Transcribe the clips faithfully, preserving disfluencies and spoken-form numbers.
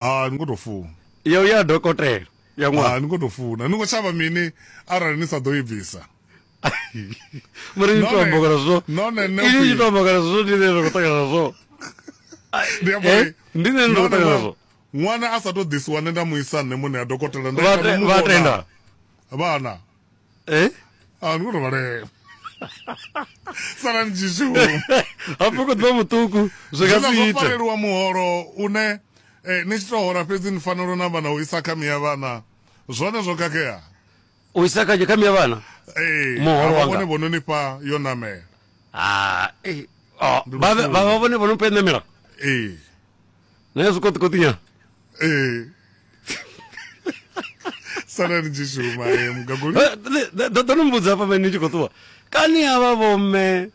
Ah, ni khou tou funa. Ya u ya dokotela ya ṅwana. Ah, ni khou tou funa. Ni khou shavha mini arali ni sa ḓo i bvisa? Mara ni to amba kana zwo. None nṋe Ini ni to amba kana zwo ndi nṋe ndo khou ṱangana nazwo. Ndi amba uri Eh, ndi nṋe ndo khou none ṱangana nazwo. Ṅwana a sa tou ḓisiwa nṋe nda mu isa nṋe muṋe ya dokotela nda Vha ita te- no mu vha vhona. tenda. Vhana. Eh? Ah, ni khou tou vhalela. Sala ni tshi shuma. Hafhu khou ḓivha muṱuku zwi nga Zwiḽa si zwo ite. fareliwa muholo une eh, ni tshi tou hola fhedzi ni fanela u namba na u isa kha miya vhana. Zwone zwo khakhea. U isa kha kha miya vhana. Ee, Muholo havha wanga. vhone vho no ni fha yo namela. Ah, eh. Oh, Ndi vha lufuno. vha vha vhone vho no pfa ṋamela. Ee. Na zwi koṱi koṱinya. Ee. Sala ni tshi shuma eh, mugaguli. Ḓo ḓo no mbudza hafha ni tshi khou ṱuwa. Kani havha vhomme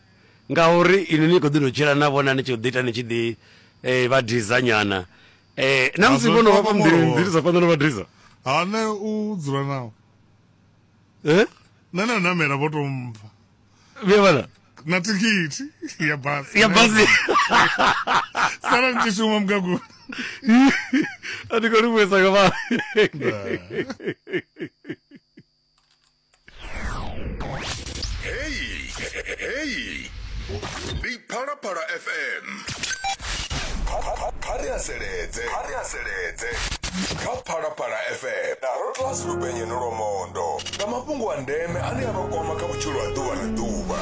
ngauri inwi ni khou ḓi no tshila na vhona ni tshi ḓi ita ni tshi ḓi eh vha diza nyana. Eh na musi Azwo vhono vha fha muḓini muholo. ḓi sa phanḓa no vha diza. Ha nṋe u dzula nao. Eh? Nṋe na namela vho tou mpha. Vhe vhana. Na thikhithi ya basi. Ya basi. Sala ni tshi shuma mugaguli. A ndi khou livhuwesa nga vha. Hey, hey, ndi Phalaphala F M. Kha kha kha ri haseledze, kha ri haseledze kha Phalaphala F M na Rotlas Lupenyeno Lwamondo nga mafhungo a ndeme ane a vha kwama kha vhutshilo ha ḓuvha na ḓuvha.